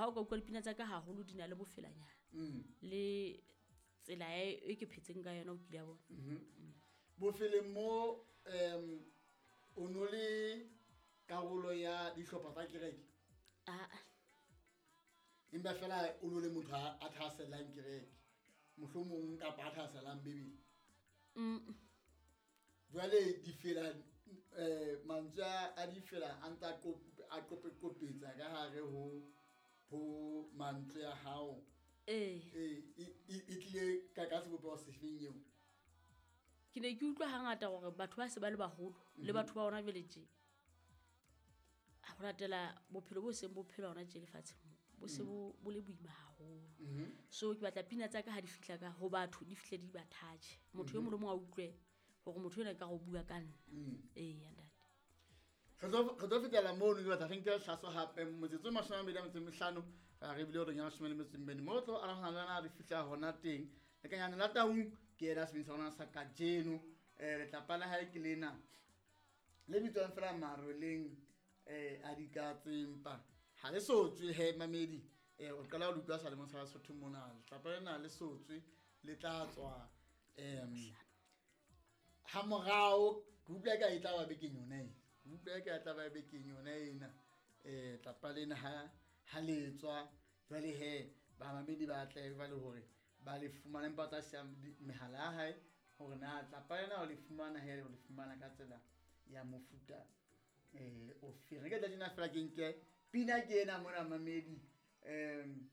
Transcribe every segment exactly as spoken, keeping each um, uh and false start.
ha o ka utlwa dipina tsa ka haholo di na le bofelanyana Mm. le tsela e e ke phetseng ka yona o kile ya bona. Bofeleng mo um o no le karolo ya dihlopha tsa kereke? Ah. Empa fela o no le motho a a thahasellang kereke mohlomong kapa a thahasellang Bibele? Mm. Jwale difela, eh mantswe a a difela a ntse a qop- a qope-qopetsa ka hare ho ho mantswe a hao. Ee. Eh, e e e tlile ka ka sebopeho sefeng eo? Ke ne ke utlwa hangata hore batho ba se ba le baholo le batho ba hona jwale tje, ho latela bophelo bo seng bo phelwa hona tje lefatsheng mo, bo se bo bo le boima haholo. So ke batla pina tsa ka ha di fihla ka ho batho, di fihle di ba touch. Motho e mong le mong a utlwe hore motho enwa ekare o bua ka nna. Eya ntate. Re tlo re tlo fetela mono, ke batla re nke hlaso hape motsotso o mashome a mabedi a metso e mehlano, ra re bile horeng ya mashome le metso e mmedi. Mo re tlo arogana le wena re fihla hona teng. Lekanyane la Taung ke yena sebini sa rona sa kajeno. Eh letlapa la hae ke lena le bitswang fela Maroleng eh a dikatse, empa ha le so tswe he mamedi. Eh o qala ho le utlwa selemong sa Basotho mona. Letlapa lena le so tswe, le tla tswa em ha morao. Ke utlwa eka e tla ba bekeng yona ena. Ke utlwa eka e tla ba bekeng yona ena. Eh tlapa lena ha ha le tswa jwale he bamamedi ba tle ba le hore ba le fumane, empa ba tla siya mehala ya hae hore na tlapa lena o le fumana he, o le fumana ka tsela ya mofuta eh o fe. Re ke tla tjena fela ke nke pina ke ena mona mamedi. Em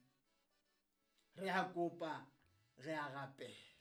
re a kopa, re a rapela.